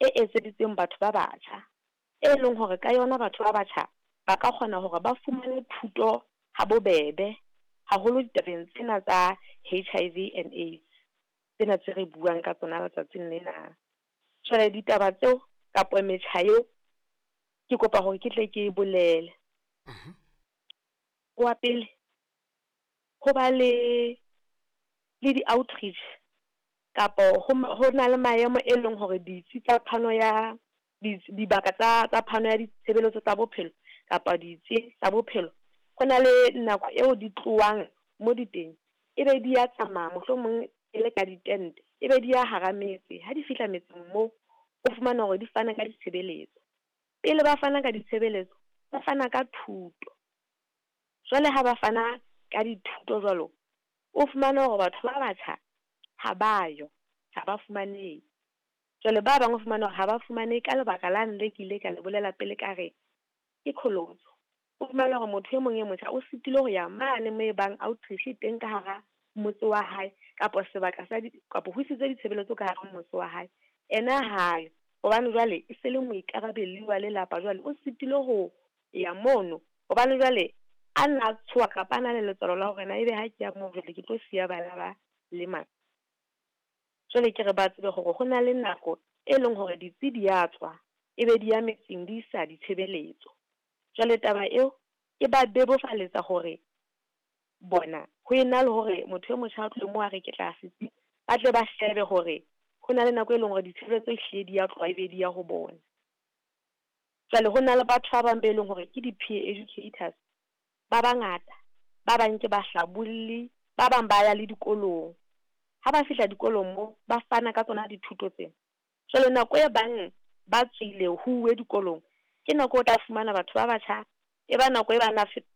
e etseditsweng batho ba batjha, e leng hore ka yona batho ba batjha ba ka kgona hore ba fumane thuto ha bobebe, haholo ditabeng tsena tsa HIV and AIDS, tsena tse re buang ka tsona letsatsing lena. Jwale ditaba tseo kapa metjha eo ke kopa hore ke tle ke e bolele. Wa pele, ho ba le di-outreach kapo ho na le maemo e leng hore ditsi tsa phano ya dibaka tsa phano ya ditshebeletso tsa bophelo kapa ditsi tsa bophelo, ho na le nako eo di tlohang mo di teng, e be di ya tsamaya mohlomong e le ka ditente, e be di ya hara metse. Ha di fihla metseng moo, o fumana hore di fana ka ditshebeletso. Pele ba fana ka ditshebeletso, ba fana ka thuto. Jwale ha ba fana ka dithuto jwalo, o fumane hore batho ba batjha ha ba yo, ha ba fumanehe. Jwale ba bang o fumane hore ha ba fumanehe ka lebaka lane le ke ile ka le bolela pele ka re ke qholotso. O fumane hore motho e mong e motjha o sitilwe ho ya mane moo e bang outreach e teng ka hara motse wa hae, kapa sebaka sa di, kapa ho isitswe ditshebeletso ka hara motse wa hae. Ena hayo, hobane jwale e se le moikarabelli wa lelapa, jwale o sitilwe ho ya mono, hobane jwale a nna tshoha kapa a na le letswalo la hore na ebe ha ke ya moo jwale ke tlo siya bana ba le . Jwale ke re ba tsebe hore ho na le nako e leng hore ditsi di ya tswa, e be di ya metseng di isa ditshebeletso. Jwale taba eo e ba bebofaletsa hore bona ho ena le hore motho e motjha a tlohe moo a re ke tla setsi, ba tle ba shebe hore ho na le nako e leng hore ditshebeletso ehlile di ya tloha ebe di ya ho bona. Jwale ho na le batho ba bang be leng hore ke di-peer educators ba bangata, ba bang ke bahlabolli, ba bang ba ya le dikolong. Ha ba fihla dikolong moo, ba fana ka tsona dithuto tsena. Jwale nako e bang ba tswile ho uwe dikolong, ke nako o tla fumana batho ba batjha, e ba nako e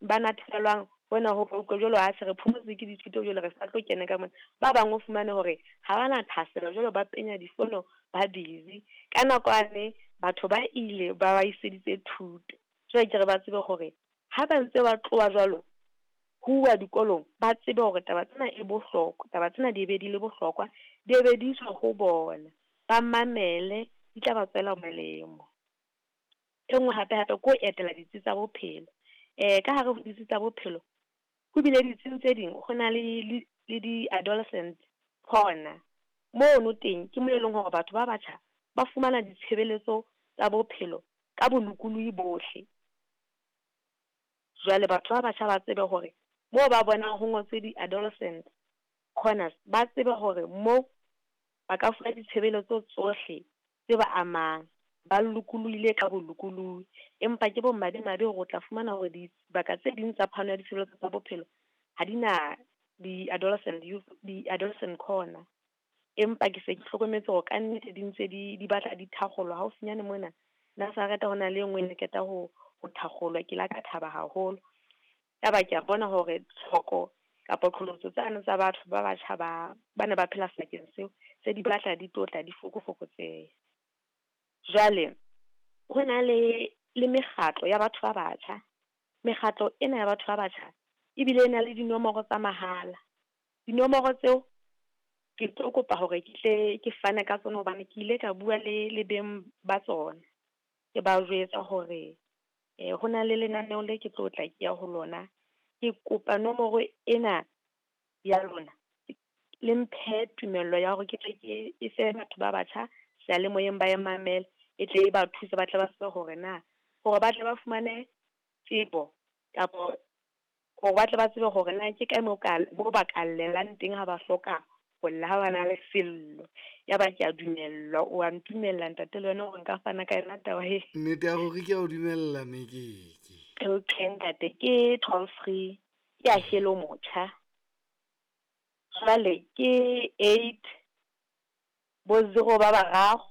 ba natefelwang hona ho utlwa jwalo ha se re phomotse ke dithuto jwale re sa tlo kena ka mona. Ba bang o fumane hore ha ba na thahasello jwalo ba penya difono, ba busy. Ka nako yane batho ba ile ba ba iseditse thuto. Jwale ke re ba tsebe hore ha ba ntse ba tloha jwalo ho uwa dikolong, ba tsebe hore taba tsena e bohlokwa, taba tsena di be di le bohlokwa, di be di iswa ho bona, ba mamele, di tla ba tswela molemo. E nngwe hape hape ke ho etela ditsi tsa bophelo. Ka hare ho ditsi tsa bophelo, ho bile ditsing tse ding ho na le di-adolescent corner. Mono teng ke moo e leng hore batho ba batjha ba fumana ditshebeletso tsa bophelo ka bolokolohi bohle. Jwale batho ba batjha ba tsebe hore moo ba bonang ho ngotswe di-adolescent corners, ba tsebe hore moo ba ka fuwa ditshebeletso tsohle tse ba amang, ba lokolohile ka bolokolohi. Empa ke bo madimabe hore o tla fumana hore dibaka tse ding tsa phano ya ditshebeletso tsa bophelo ha di na di-adolescent youth, di-adolescent corner. Empa ke se ke hlokometse hore ka nnete di ntse di batla di thakgolwa haufinyane mona Nazareth ho na le e nngwe e ne qeta ho thakgolwa, ke la ka thaba haholo. Yaba ke a bona hore tlhoko kapa qholotso tsane tsa batho ba batjha ba ne ba phela sebakeng seo, se di batla di tlotla di fokofokotseha. Jwale ho na le mekgatlo ya batho ba batjha. Mekgatlo ena ya batho ba batjha ebile e na le dinomoro tsa mahala. Dinomoro tseo ke tlo kopa hore ke tle ke fane ka tsona hobane ke ile ka bua le beng ba tsona. Ke ba jwetsa hore ho na le lenaneo le ke tlo tla ke ya ho lona. Ke kopa nomoro ena ya lona, le mphe tumello ya hore ke tle ke e fe batho ba batjha seyalemoyeng ba e mamele, e tle e ba thuse ba tle ba tsebe hore na hore ba tle ba fumane tsebo kapa hore ba tle ba tsebe hore na ke kae moo ka mo ba ka llelang teng ha ba hloka ho lla ha ba na le sello. Ya ba ke a dumellwa, o a ntumella ntate le wena hore nka fana ka yona taba e. Nnete ya hore ke a o dumella Mekeke. Okay ntate, ke toll free, ke ya Hello Motjha. Jwale ke 8 bo 0 ba bararo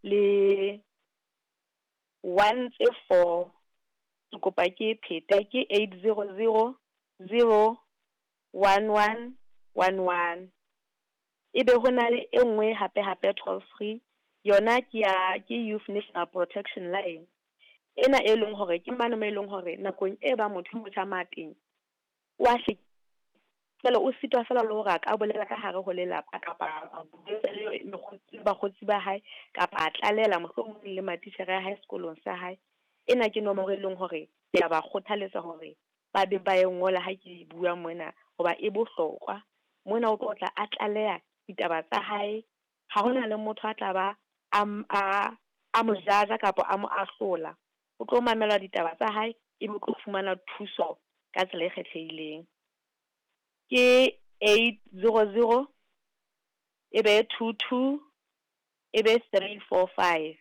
le 1 tse 4. Ke kopa ke phete ke 800 0 11 11. Ebe ho na le e nngwe hape hape toll free, yona ke ya ke Youth National Protection Line. Ena e leng hore ke mane mo e leng hore nakong e ba motho e motjha mateng wa hle. Jwale o sitwa feela le hore a ka bolela ka hare ho lelapa kapa a bua le bakgotsi ba hae kapa a tlalela mohlomong le matitjhere a hae sekolong sa hae. Ena ke nomoro e leng hore ke a ba kgothaletsa hore ba be ba e ngola ha ke bua mona hoba e bohlokwa. Mona o tlo tla a tlaleha ditaba tsa hae, ha hona le motho a tla ba a mo jaja kapa a mo ahlola. O tlo mamela ditaba tsa hae, ebe o tlo fumana thuso ka tsela e kgethehileng. Ke 800 ebe 22 ebe 345.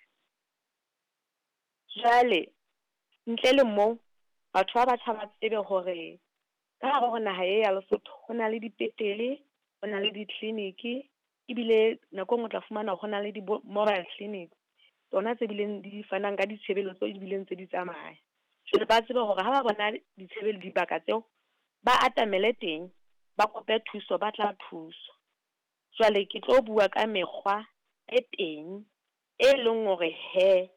Jwale ntle le moo batho ba batjha ba tsebe hore ka hare ho naha e ya Lesotho ho na le dipetlele, ho na le ditleliniki, ebile nako e nngwe o tla fumana ho na le di-mobile clinic tsona tse bileng di fanang ka ditshebeletso ebile ntse di tsamaya. Jwale ba tsebe hore ha ba bona dibaka tseo ba atamele teng, ba kope thuso, ba tla thuswa. Jwale ke tlo bua ka mekgwa e teng e leng hore he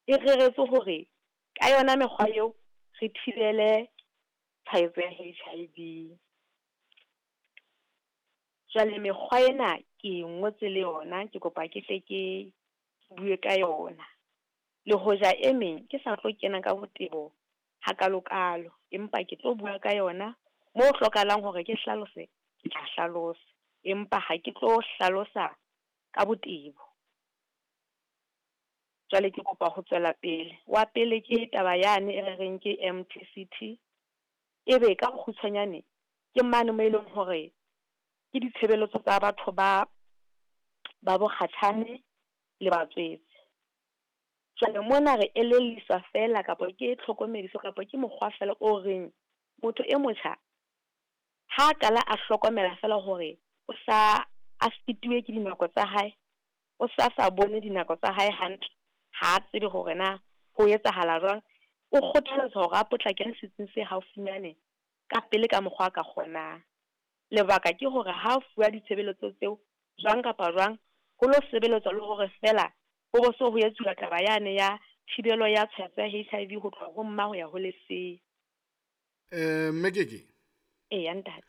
e reretswe hore ka yona mekgwa eo re thibele tshwaetso ya HIV. Jwale mekgwa ena ke e ngotse le yona, ke kopa ke hle ke bue ka yona. Le hoja e meng ke sa tlo kena ka botebo hakalokalo, empa ke tlo bua ka yona moo hlokahalang hore ke hlalose, ke tla hlalosa, empa ha ke tlo hlalosa ka botebo. Jwale ke kopa ho tswela pele. Wa pele ke taba yane e re reng ke MTCT, ebe ka bokgutshwanyane ke mane mo e leng hore ke ditshebeletso tsa batho ba bokgatjhane le batswetse. Jwale mona re elelliswa feela kapa ke tlhokomediso kapa ke mokgwa feela o reng motho e motjha ha qala a hlokomela feela hore o sa a fetiwe ke dinako tsa hae, o sa bone dinako tsa hae hantle, ha tsebe hore na ho etsahala jwang, o kgothaletswa hore a potlakele setsing se haufinyane ka pele ka mokgwa a ka kgonang. Lebaka ke hore ha fuwa ditshebeletso tseo jwang kapa jwang, ho lo sebeletswa le hore feela ho bo so ho etsuwa taba yane ya thibelo ya tshwaetso ya HIV ho tloha ho mma ho ya ho lesea. Mme Keke. Eya ntate.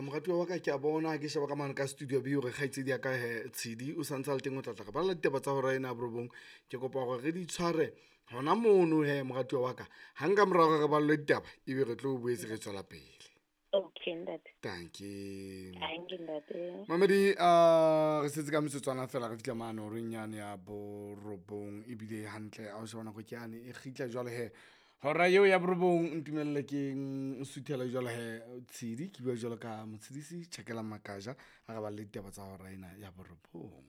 Moratuwa wa ka ke a bona ke sheba ka mane ka studio B hore kgaitsedi ya ka he Tshidi o santse a le teng, o tla tla re balla ditaba tsa hora ena ya borobong. Ke kopa hore re di tshware hona mono he moratuwa wa ka. Hang ka morao re ballwe ditaba ebe re tlo boetse re tswela pele. Okay ntate. Dankie. Dankie ntate. Mamedi re setse ka metsotswana fela re fihla mane horeng yane ya borobong, ebile hantle a o sheba nako ke yane e kgitla jwale he. Hora eo ya borobong ntumelle ke suthela jwale he Tshidi, ke bua jwalo ka Motshidisi Tjhakela Makaja a re balle ditaba tsa hora ena ya borobong.